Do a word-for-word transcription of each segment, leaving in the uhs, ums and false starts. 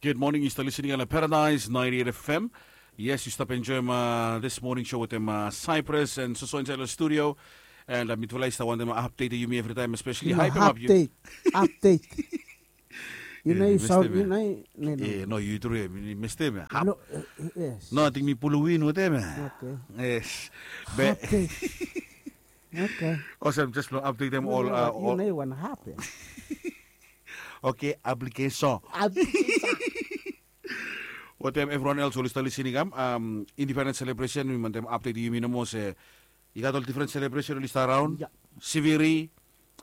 Good morning, yu stap listening on Paradise ninety-eight F M. Yes, yu stap enjoyim uh, this morning show with them uh, Cyprus and Soso inside the studio. And uh, mitufala yu stap wantem update yumi every time, especially hype him up. Update. Update. You know, you sound, you know, no, no. Eh, no, you through him. You missed him. No, uh, yes. No, I think mi pulu win with him. Okay. Yes. Be- Update. Okay. Awesome, just lo update them all. Uh, you know what happened. Okay, application. Application. Wetem everyone else oli stap listening am, um, independence celebration, mi wantem update yumi nomo se i gat ol different celebration oli stap raon. Siviri,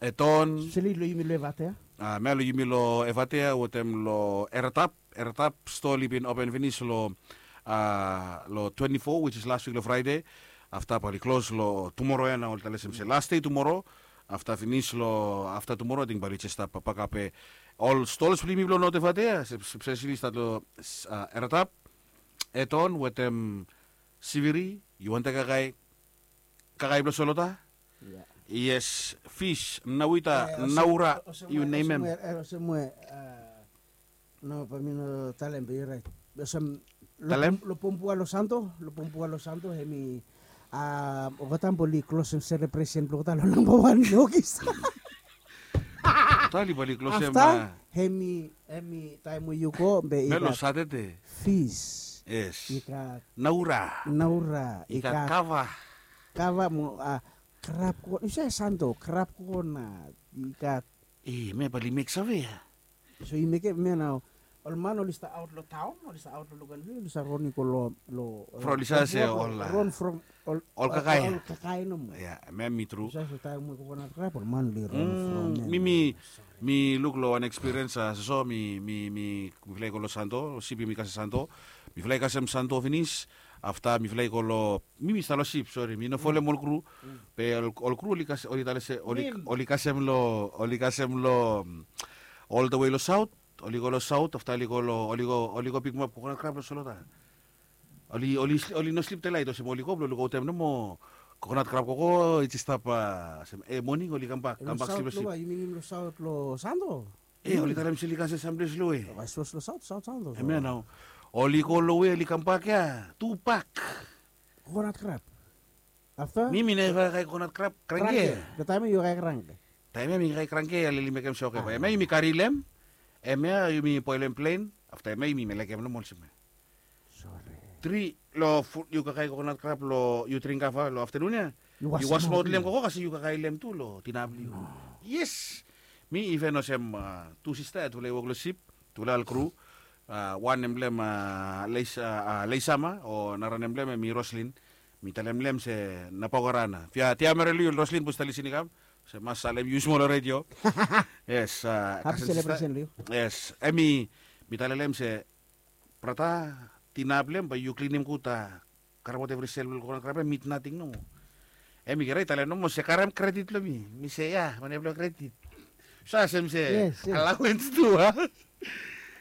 Eton. Sili lo yumi lo Evatea. Uh, mea lo yumi lo Evatea wetem lo Eratap. Eratap store oli bin open finis lo uh, lo twenty-four, which is last week lo Friday. Afta bae oli klos lo tumoro ya, na oli talem se last day tumoro. Afta finis lo afta tumoro, ating bae oli jes stap pakap ol stores blo yumi blo North Evatea, especially stat lo uh, Eratap, Eton wetem Siviri. Yu wantem kakae kakae blo Solota? Yes, fish, nawita, naura, you name em. Olsem we, no, bae mi no talem be yu rait. Olsem, talem lo Pombua lo Santo, lo Pombua lo Santo, hemi, a, olgeta bae oli klosem selebresen blo olgeta lo namba wan lo Ogis. Olgeta bae oli klosem. Afta, hemi, hemi taem we yu go be i gat Satade. Fish. Yes. I gat naura. Naura. I gat kava. Kava mo, a, krab ko, yu save Santo, krab ko na i gat. E, me bae oli mek save ya. So i mekem, me nao ol man oli stap aot lo taon, oli stap aot lo Luganville, oli stap ron i go lo, lo, from, oli save se ol, ron from ol, ol kakae. Ol kakae nomo. Ya, me mi tru. Oli save se taem we kokonat krab ol man oli ron from. Mi, mi, mi luk lo wan experience, a, so, so mi, mi, mi, mifala i go lo Santo, sip yumi kasem Santo. Mifala i kasem Santo finis, afta mifala i go lo Mi, mi stap lo sip, sori, mi no folem ol kru. Be ol, ol kru oli kasem, oli talem se, oli, oli kasem lo, oli kasem lo, mm, all the way lo saot, oli go lo saot, afta oli go lo, oli go, oli go pikimap kokonat krab lo Solota. Oli, oli, oli no slip telaet, olsem oli go blo lukautem nomo kokonat krab koko i jes stap, a, olsem, e, moning oli kambak, kambak slip lo sip. Lo saot lo Santo. E, oli talem se oli kasem samples lo we. Hemia nao. Oli go lo we, oli kambak ya, tu pak. Kokonat krab. Afta? Mi, mi neva kakae kokonat krab, krangke. Krangke. Lo taem ya yu kakae krangke. Taem ya mi kakae krangke, ya oli mekem se oke bae. Hemia yumi kari lem. Hemia yumi boelem plen. Afta hemia yumi melekem nomo olsem ya. Sore. Tri, lo fu-, yu kakae kokonat krab lo, yu dring kava lo aftenun ya. Yu wasem aot lem koko, kasem yu kakae lem tu lo dina blo yu. Yes. Mi iven olsem, a, tu sista ya tufala i wok lo sip, tufala ol kru. A, wan nem blong hem, a, Leis-, a, a, Leisama, o nara nem blong hem hemi Roslyn. Mi talem long hem se na Paokarana. Fia, tia merel yu Roslyn, bus ta lisin i kam. Se mas salem yu smol lo redio. Yes, a, hapi selebresen long yu. Yes, hemi, mi talem long hem se, brata, dina blong hem bae yu klinim gud, a, karem aot evri sel blong kokonat krab ya, mit nating nomo. Hemi kere i talem nomo se karem kredit long mi. Mi se ya, mane blong kredit. Sa olsem se allowance tu, a.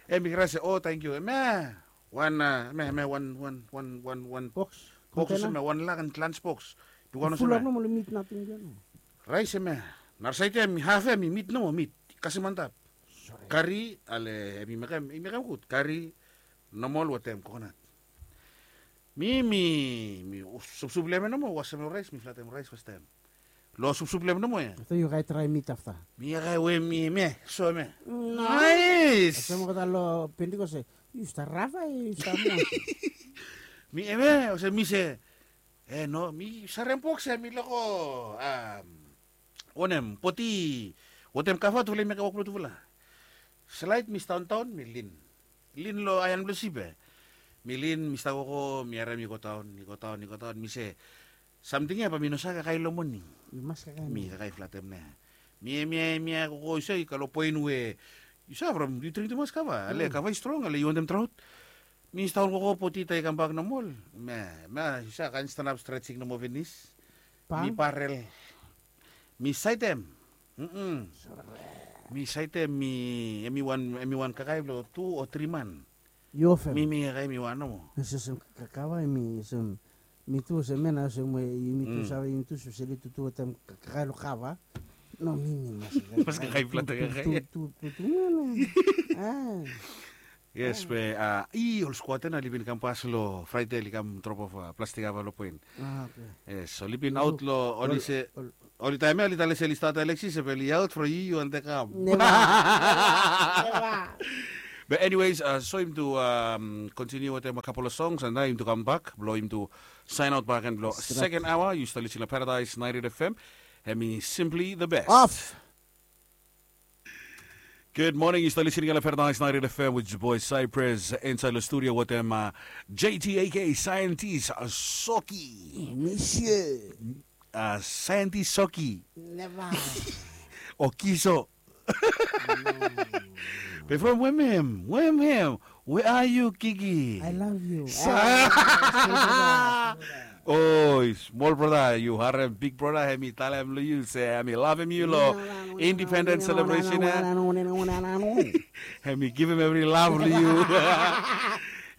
Hemi kere se, o, tangkiu. Hemia wan, a, hemia, hemia wan, wan, wan, wan, wan box. Box olsem ya, wan lak, lunch box. Bigwan olsem ya. Fulap nomo lo mit nating ya nomo. Raes hemia. Nara saed ya hemi haf ya hemi mit nomo, mit. Kasem antap. Kari, ale, hemi mekem, hemi mekem gud. Kari, nomol wetem kokonat. Mi, mi, mi supsup long hem nomo, wasem lo raes, mi flatem raes fastaem. Lo supsup long hem nomo ya. Afta yu kakae traem mit afta. Mi kakae we mi, mi, so hemia. Naes. Olsem olgeta lo Pentecost se, yu stap rava, yu stap mo. Mi, hemia, olsem mi se, e, no, mi sarem box ya, mi lako, a, wanem, poti, wetem kava tufala i mekem wok blong tufala. Slaed mi stap daon, mi lin. Lin lo aean blong sip ya. Mi lin, mi stap koko, mi harem i go daon, i go daon, i go daon, mi se, samting ya bae mi no save kakae lo moning. Mi mas kakae. Mi kakae flatem nao. Mi, mi, mi koko, yu save, i kam lo poen we, yu save, from yu dring tumas kava, ale kava i strong, ale yu wantem draot. Mi stap on koko, poti, taem i kambak nomol. Me, me, yu save, kaen stanap stretching nomo finis. Mi parel. Mi saedem. Mm-mm. Mi saedem, mi, hemi wan, hemi wan kakae blo tu o tri man. Yu hafem. Mi, mi kakae mi wan nomo. Olsem kava, mi olsem, mi tu olsem, me nao olsem we, mi tu save, mi tu speseli tu, tu wetem kakae lo kava. No, mi mi mas. Mas kakae plastik kakae. Tu tu tu tu mana? Ah. Yes, be a i ol squatter na oli bin kam pas lo Friday oli kam drop off a plastik ava lo point. Ah, okay. Yes, oli bin out lo oli se oli taem ya oli tale se oli start Alexis be oli out from you you and the kam. Never. Never. But anyways, uh, so him to um, continue with them a couple of songs and now him to come back. Blo him to sign out back and blo second hour, you still listening to Paradise ninety-eight F M. Hemi simply the best. Off. Good morning. You still listening to Paradise ninety-eight F M with your boy Cypress inside the studio with them uh, J T A K Scientist uh, Soki. Monsieur. Uh, Scientist Soki. Never. Okiso. Be from Wemhem, Wemhem. Where are you, Kiki? I love you. Sa- Ah, Oh, small brother, yu harem big brother hemi talem lo yu se hemi lavem yu lo independence celebration ya. Hemi givim evri lav lo yu.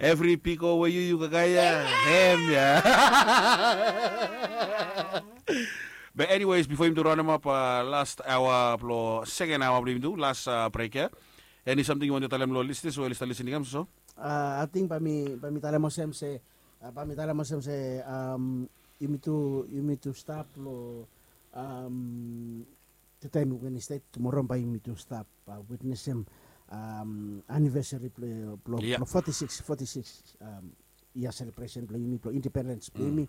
Evri piko we yu yu kakae ya hem ya. But anyways, bifo yumi tu raonem ap last aoa blo second aoa blo yumi tu last break ya, eni samting yu wantem talem lo listeners we oli stap listening hem so? Ating bae mi talem olsem se bae mi talem olsem se yumi tu yumi tu stap lo tede mi Wednesday tumoro bae yumi tu stap witnesem anivesari blo foti sikis foti sikis yia selebresen blo yumi blo indipendens blo yumi.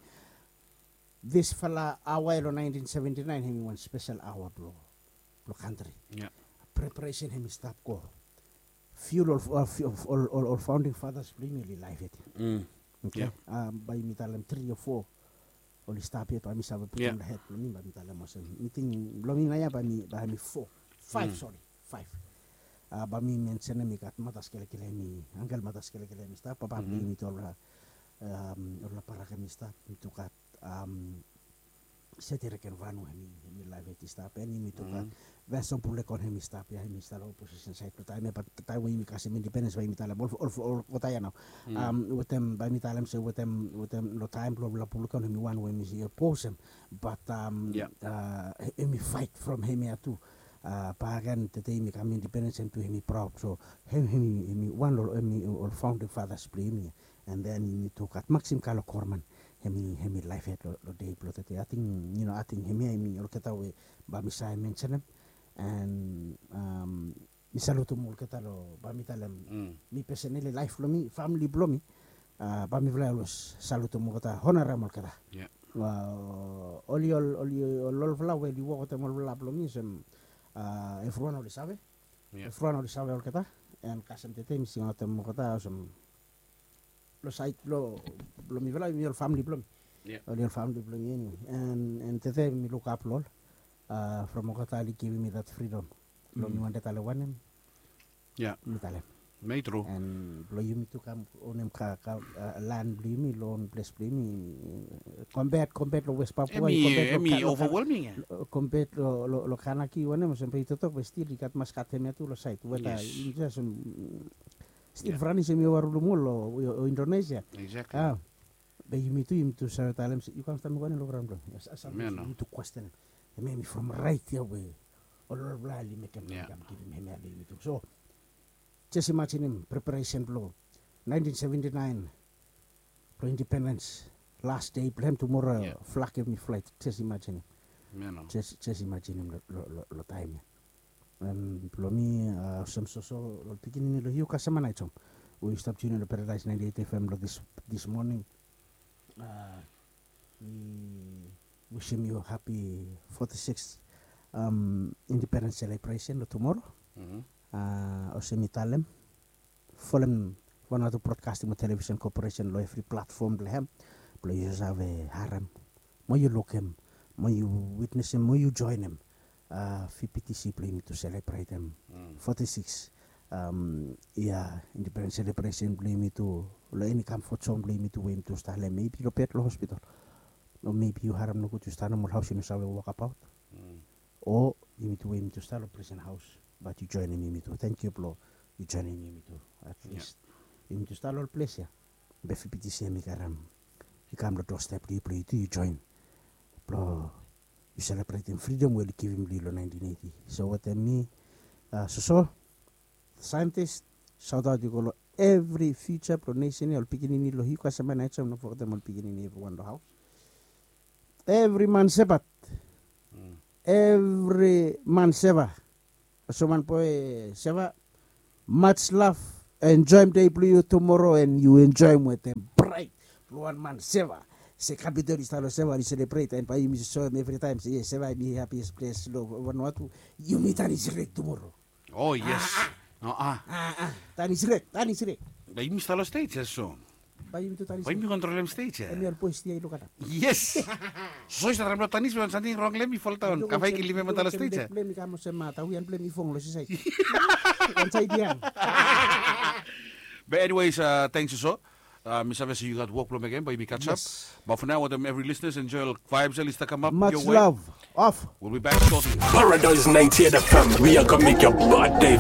Disfala aoa ya lo naentin seventi naen hemi wan spesel aoa blo blo kantri. Preparesen hemi stap go. Fiul ol ol ol ol founding fathers blo yumi oli laef yet. Oke. Bae yumi talem tri o fo oli stap yet bae mi save putum long hed blo mi bae mi talem olsem miting blo mi naoia bae mi bae mi fo. Faef sori. Faef. Bae mi mensenem i gat matas kelekele hemi angel matas kelekele hemi stap papa blo yumi tu olgeta olgeta baraka hemi stap mi tu gat seti reken vanu hemi hemi laef heti stap en yumi tu gat. Veso bulekon hemi stap ya hemi stap long oposisen saed blong taem ya bat taem we yumi kasem indipendens bae yumi talem ol ol olgeta ya nao. Wetem bae mi talem se wetem wetem long taem blong ol bulekon hemi wan we hemi posem bat hemi faet from hemia tu. Baken tede yumi kam indipendens hem tu hemi praod so hem hemi hemi wan long hemi ol faonding fathas blong yumi. And then yumi tu gat maksim kalo korman hemi hemi laef hed long dei blong tede ating yu no ating hemia hemi olgeta we bae mi save mensenem. And mi salutum olgeta long bae mi talem mi peseneli laef blong mi famili blong mi. Bae mifala i olwes salutum olgeta honarem olgeta. Oli ol oli ol olfala we oli wok wetem olfala blong mi olsem evriwan oli save. Evriwan oli save olgeta. And kasem tede mi singaotem olgeta olsem long saed blong blong mifala yumi ol famili blong mi. Oli ol famili blong mi eniwe and tede mi lukap long ol from olgeta oli givim mi that freedom blong mi wantem talem wanem. Mi talem. Mai tru. And blong yumi tu kam onem ka ka lan blong yumi long on ples blong yumi. Kompet kompet long West Papua. Hemi overwhelming ya. Kompet long Kanaki wanem olsem blong yu totok be stil i gat mas gat hemia tu long saed weta yumi jes stil franis hemi warulum ol o Indonesia. Be yumi tu yumi tu save talem se yu kam stap mekem wanem long graon blong yumi tu kwestenem. Hemia hemi from raet ya we ol olfala oli mekem kam givim hemia long yumi tu so jes imajinim preparesen blong naentin seventi naen blong indipendens las dei blong hem tumora flag hemi flae. Jes imajinim. Jes imajinim long taem ya. Blong mi olsem soso long pikinini long yu kasem ana i jom we yu stap tiunin long Paradise ninety eight F M long this morning. Mi wisim yu hapi forty six independence celebration long tumoro. Olsem mi talem folem Vanuatu Broadcasting mo Television Corporation long evri platfom blong hem blong yu save harem mo yu lukim mo yu witnesem mo yu joenem V P T C blong yumi tu selebretem forty six yia independence celebration blong yumi tu long eni kam fo jom blong yumi tu we yumi tu stap long hem mebi long bed long hospital. O mebi yu harem nogud yu stap long ol haos yu no save wokabaot. O yumi tu we yumi tu stap long presen haos bat yu joenem yumi tu. Tangkiu blong yu joenem yumi tu. At least yumi tu stap long ol ples ya. Be V P T C ya mi karem i kam long doorstep blong yu blong yu tu yu joen blong Yu selebretem fridom we oli givim long yu long nineteen eighty. So wetem mi, soso, scientist, sautaut i go long evri future blong nesen ya, ol pikinini long yu kasem ya naet so no fogetem ol pikinini evriwan long haos. Evri man sebat, evri man seva. Soman boe seva, much love. Enjoem dei blong yu tumoro and yu enjoem wetem brait blong wan man seva. Se kapitol i stap long seva oli selebret and bae yumi soem evritaem se yes, seva em i hapies ples long vanua tu. Yumi tanis red tumoro. Oh yes. Ah, ah. Tanis red, tanis red. Bae yumi stap long stage ya so. Bae yumi tu tanis. Bae yumi kontrolem stage ya. Em ya ol boes ya i lukatap. Yes. So i stap traem long tanis wan samting rong long em i foldaon. Kafai ki livim em antalo stage ya. Blem i kam olsem tawian blem i fong long sisait. Wan sait ya. But anyways, thanks so. Mi save se yu gat wok blong mekem, bae yumi catch up. But for now, wetem every listeners, enjoy ol vibes ya oli stap kamap. Much love. Off. We'll be back shortly. Paradise ninety-eight F M, we are gonna make your body